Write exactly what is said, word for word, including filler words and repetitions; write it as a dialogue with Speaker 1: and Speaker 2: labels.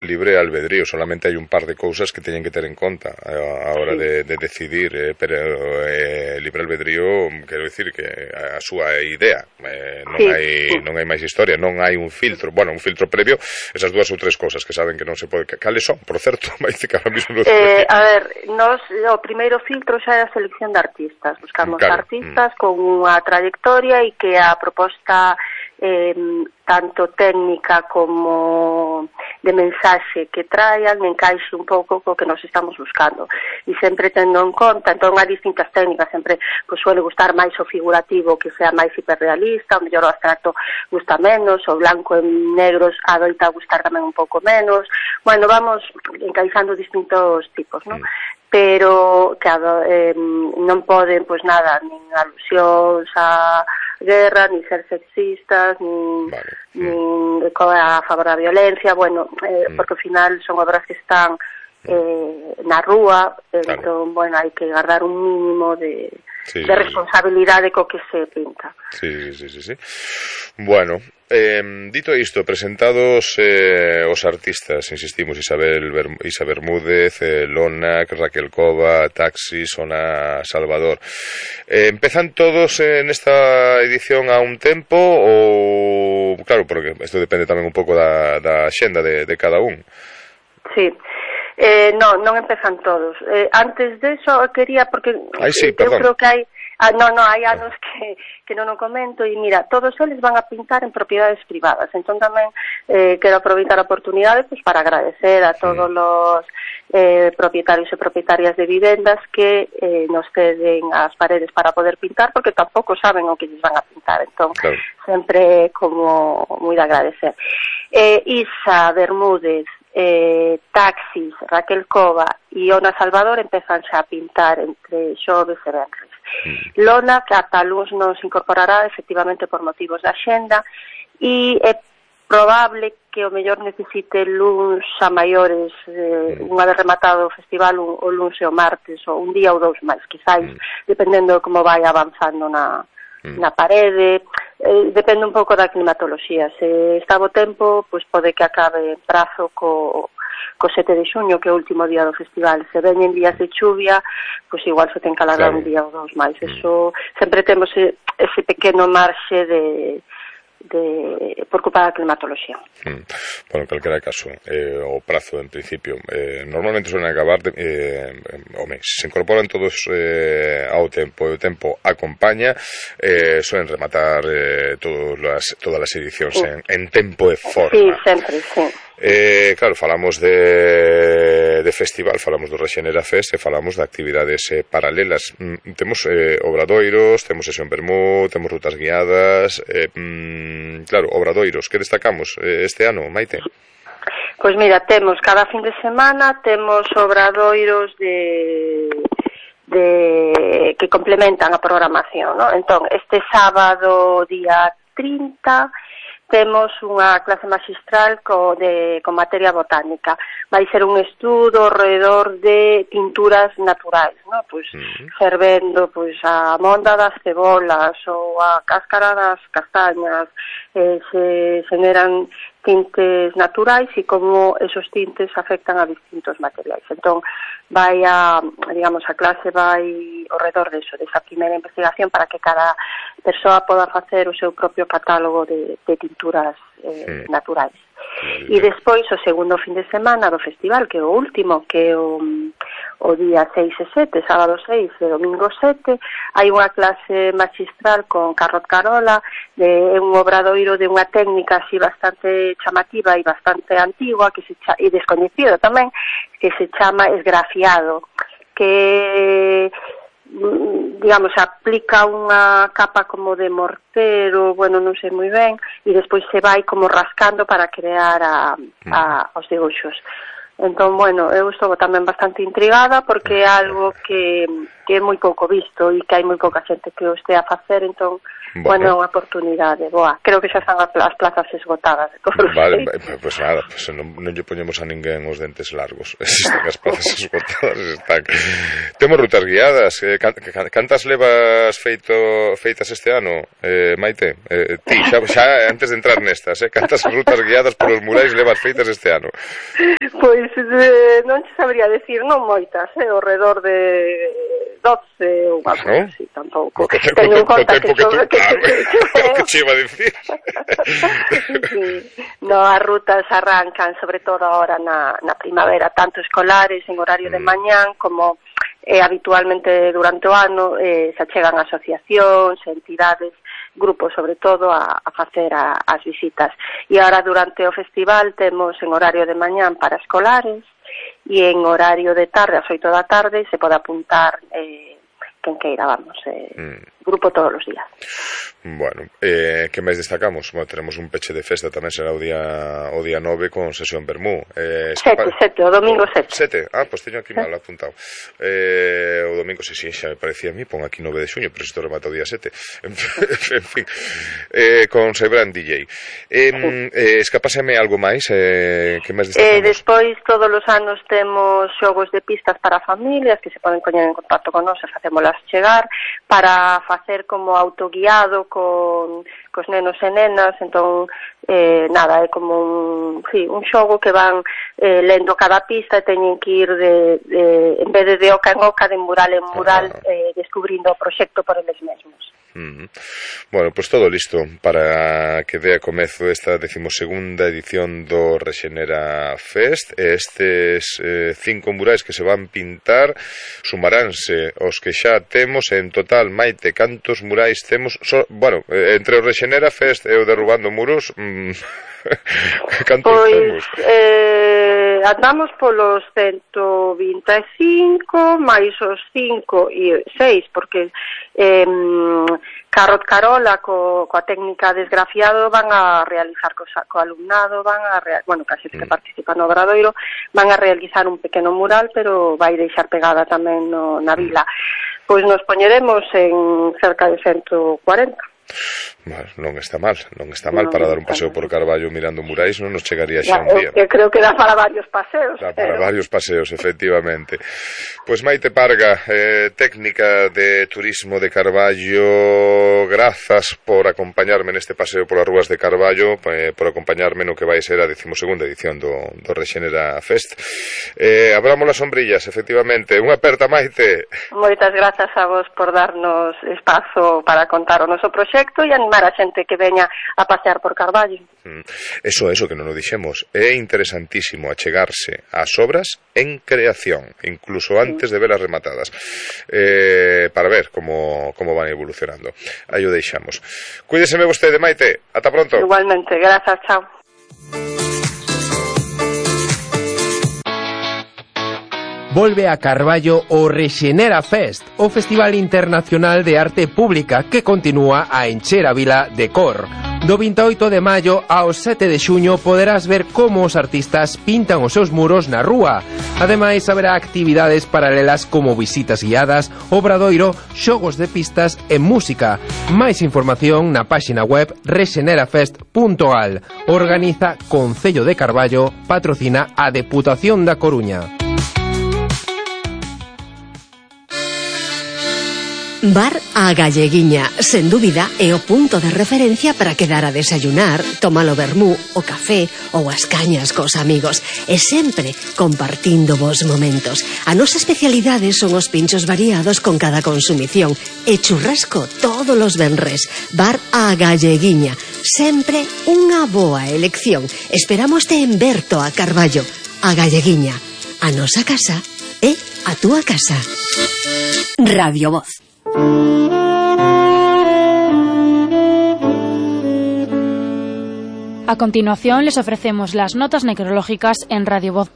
Speaker 1: libre albedrío, solamente hai un par de cousas que teñen que ter en conta a hora de, de decidir, eh, pero eh, libre albedrío, quero dicir que a súa idea, eh, non,
Speaker 2: sí,
Speaker 1: hai,
Speaker 2: sí.
Speaker 1: non hai máis historia, non hai un filtro, bueno, un filtro previo, esas dúas ou tres cousas que saben que non se pode, cales son, por certo, vai que ahora mismo non
Speaker 2: eh, a ver, nos, o primeiro filtro xa é a selección de artistas, buscamos
Speaker 1: claro.
Speaker 2: artistas
Speaker 1: mm.
Speaker 2: con unha trayectoria e que a proposta eh, tanto técnica como de mensaxe que traian encaixe un pouco co que nos estamos buscando e sempre tendo en conta, entón hai distintas técnicas, sempre pues, suele gustar máis o figurativo que sea máis hiperrealista, o mellor o abstracto gusta menos, o blanco en negros adoita gustar tamén un pouco menos, bueno, vamos encaixando distintos tipos, non? Mm. Pero, claro, eh, non poden, pois nada, nin alusións a guerra, nin ser sexistas, nin,
Speaker 1: vale.
Speaker 2: nin mm. a favor da violencia, bueno, eh, mm. porque ao final son obras que están eh, na rúa, claro. Entón, bueno, hai que guardar un mínimo de, sí, de responsabilidade co que se pinta.
Speaker 1: Sí, sí, sí, sí. Bueno, eh, dito isto, presentados eh, os artistas, insistimos, Isabel, Ber Isabel Bermúdez, eh, Lonac, Raquel Cova, Taxi, Sona Salvador. Eh, empezan todos en esta edición a un tempo ou, claro, porque isto depende tamén un pouco da, da xenda de, de cada un.
Speaker 2: Sí. Eh, non, non empezan todos. Eh, antes de eso quería, porque
Speaker 1: Ay, sí,
Speaker 2: eu
Speaker 1: perdón.
Speaker 2: creo que hai ah, non, non, hai anos que, que non o comento e mira, todos eles van a pintar en propiedades privadas, entón tamén eh, quero aproveitar a oportunidade pues, para agradecer a todos sí. os eh, propietarios e propietarias de vivendas que eh, nos ceden as paredes para poder pintar, porque tampouco saben o que lles van a pintar, entón claro. Sempre como moi de agradecer. eh, Isa Bermúdez, Eh, Taxis, Raquel Cova e Ona Salvador empezan xa a pintar entre xoves e venres. Mm. Lona, que ata luns nos incorporará efectivamente por motivos da xenda e é probable que o mellor necesite luns a maiores eh, mm. unha vez rematado o festival o, o luns e o martes ou un día ou dous máis, quizáis, mm. dependendo de como vai avanzando na na parede, eh, depende un pouco da climatoloxía. Se está bo tempo, pois pode que acabe en prazo co, co sete de xuño, que é o último día do festival. Se veñen días de chuvia, pois igual se ten que alargar claro. Un día ou dous máis. Eso, sempre temos ese pequeno marxe de de por culpa da climatoloxía.
Speaker 1: Mm. Bueno, en calquera caso, eh, o prazo en principio eh, normalmente suelen acabar de, eh, home, se incorporan todos eh, ao tempo e o tempo acompaña, eh, suelen rematar eh, todas las, todas as edicións sí. en, en tempo e forma.
Speaker 2: Sí, sempre, sí.
Speaker 1: Eh, claro, falamos de, de festival, falamos do Rexenera Fest e falamos de actividades eh, paralelas. Mm, temos eh, obradoiros, temos sesión Bermú, temos rutas guiadas, eh, mm, claro, obradoiros, que destacamos eh, este ano, Maite?
Speaker 2: Pois mira, temos cada fin de semana, temos obradoiros de... de que complementan a programación, ¿no? Entón, este sábado, día trinta, temos unha clase magistral co de, con materia botánica. Vai ser un estudo alrededor de pinturas naturais, ¿no? Pois, uh-huh. fervendo pois, a monda das cebolas ou a cáscara das castañas, eh, se generan tintes naturais e como esos tintes afectan a distintos materiais. Entón, vai a, digamos, a clase vai ao redor deso, desa primeira investigación para que cada persoa poda facer o seu propio catálogo de, de tinturas eh, sí. naturais. E despois, o segundo fin de semana do festival, que é o último, que é o, o día seis e sete, sábado seis e domingo sete, hai unha clase magistral con Carrot Carola, de un obradoiro de unha técnica así bastante chamativa e bastante antigua, que se cha, e descoñecido tamén, que se chama esgrafiado, que digamos, aplica unha capa como de mortero, bueno, non sei moi ben, e despois se vai como rascando para crear a, a, os debuxos. Entón, bueno, eu estou tamén bastante intrigada porque é algo que que é moi pouco visto e que hai moi pouca xente que o estea a facer, entón, bueno, é unha oportunidade boa. Creo que xa están as plazas esgotadas de todos os
Speaker 1: Vale,
Speaker 2: xeitos.
Speaker 1: pois pues nada, pues non, non lle poñemos a ninguén os dentes largos. Están as plazas esgotadas, están. Temos rutas guiadas. Eh, can, can, cantas levas feito feitas este ano, eh, Maite? Eh, ti, xa, xa antes de entrar nestas, eh, cantas rutas guiadas polos murais levas feitas este ano?
Speaker 2: Pois eh, non che sabría decir, non moitas, eh, ao redor de doce ou algo
Speaker 1: ¿no?
Speaker 2: así, tampouco.
Speaker 1: Co, co,
Speaker 2: Teño en
Speaker 1: co,
Speaker 2: conta
Speaker 1: co
Speaker 2: que,
Speaker 1: que,
Speaker 2: so,
Speaker 1: tú,
Speaker 2: que,
Speaker 1: claro,
Speaker 2: que, que,
Speaker 1: que che iba a dicir.
Speaker 2: sí. No, as rutas arrancan sobre todo ahora na, na primavera, tanto escolares en horario de mañán como eh, habitualmente durante o ano eh, se achegan asociacións, entidades, grupos sobre todo a, a facer a, as visitas. E agora durante o festival temos en horario de mañán para escolares e en horario de tarde, ás oito da tarde, se pode apuntar eh, quen queira, vamos, eh, mm. grupo todos os días.
Speaker 1: Bueno, eh, que máis destacamos? Bueno, tenemos un peche de festa tamén, será o día o día nove con sesión Bermú. Eh,
Speaker 2: sete, sete, o domingo sete.
Speaker 1: Sete, ah, pois pues teño aquí mal apuntado. Eh, o domingo, si, sí, sí, xa me parecía a mí, pon aquí nove de xuño, pero isto remata o día sete. En fin, eh, con Sebran D J. Eh, sí. eh, escapáseme algo máis? Eh, que máis destacamos?
Speaker 2: Eh, despois, todos os anos temos xogos de pistas para familias que se poden poñer en contacto con nós e facémolas chegar para facer como autoguiado con cos nenos e nenas, entón eh, nada, é como un, sí, un xogo que van eh, lendo cada pista e teñen que ir de, de, en vez de de oca en oca, de mural en mural, ah. eh, descubrindo o proxecto por eles mesmos.
Speaker 1: Uh-huh. Bueno, pois pues todo listo para que dea comezo esta decimosegunda edición do Rexenera Fest. Estes eh, cinco murais que se van pintar sumaránse os que xa temos en total. Maite, cantos murais temos? So, bueno, eh, entre o Rexenera Fest e o Derrubando Muros, mm, cantos
Speaker 2: pois,
Speaker 1: temos?
Speaker 2: Eh, andamos polos ciento vinte e cinco máis os cinco e seis, porque eh, Carrot Carola co, coa técnica desgrafiado van a realizar co, co alumnado, van a real, bueno, case que mm. participa no Obradoiro, van a realizar un pequeno mural, pero vai deixar pegada tamén no, na vila. Pois nos poñeremos en cerca de ciento cuarenta.
Speaker 1: Bueno, non está mal, non está mal, no, para dar un paseo por Carballo mirando murais non nos chegaría xa
Speaker 2: ya,
Speaker 1: un día.
Speaker 2: Eu creo que dá para varios paseos.
Speaker 1: Dá para
Speaker 2: pero...
Speaker 1: varios paseos, efectivamente. Pois pues Maite Parga, eh, técnica de turismo de Carballo, grazas por acompañarme neste paseo polas rúas de Carballo, eh, por acompañarme no que vai ser a decimosegunda edición do, do Rexenera Fest. Eh, abramos as sombrillas, efectivamente. Unha aperta, Maite.
Speaker 2: Moitas grazas a vos por darnos espazo para contar o noso proxecto e animar a xente que veña a pasear por Carballo.
Speaker 1: Mm. Eso, eso que non o dixemos. É interesantísimo achegarse ás obras en creación, incluso antes de velas rematadas, eh, para ver como, como van evolucionando. Aí o deixamos. Cuídeseme vostede, Maite. Ata pronto.
Speaker 2: Igualmente, grazas, chao.
Speaker 3: Volve a Carballo o Rexenera Fest, o Festival Internacional de Arte Pública que continúa a encher a vila de cor. Do vinte e oito de maio ao sete de xuño poderás ver como os artistas pintan os seus muros na rúa. Ademais, haberá actividades paralelas como visitas guiadas, obradoiro, xogos de pistas e música. Máis información na páxina web rexenerafest punto gal. Organiza Concello de Carballo, patrocina a Deputación da Coruña.
Speaker 4: Bar A Galleguiña, sen dúbida, é o punto de referencia para quedar a desayunar, tomar o vermú, o café ou as cañas cos amigos, e sempre compartindo vos momentos. A nosa especialidade son os pinchos variados con cada consumición e churrasco todos os venres. Bar A Galleguiña, sempre unha boa elección. Esperamos te en Berto a Carballo. A Galleguiña, a nosa casa é a túa casa. Radio Voz.
Speaker 5: A continuación les ofrecemos las notas necrológicas en Radio Voz.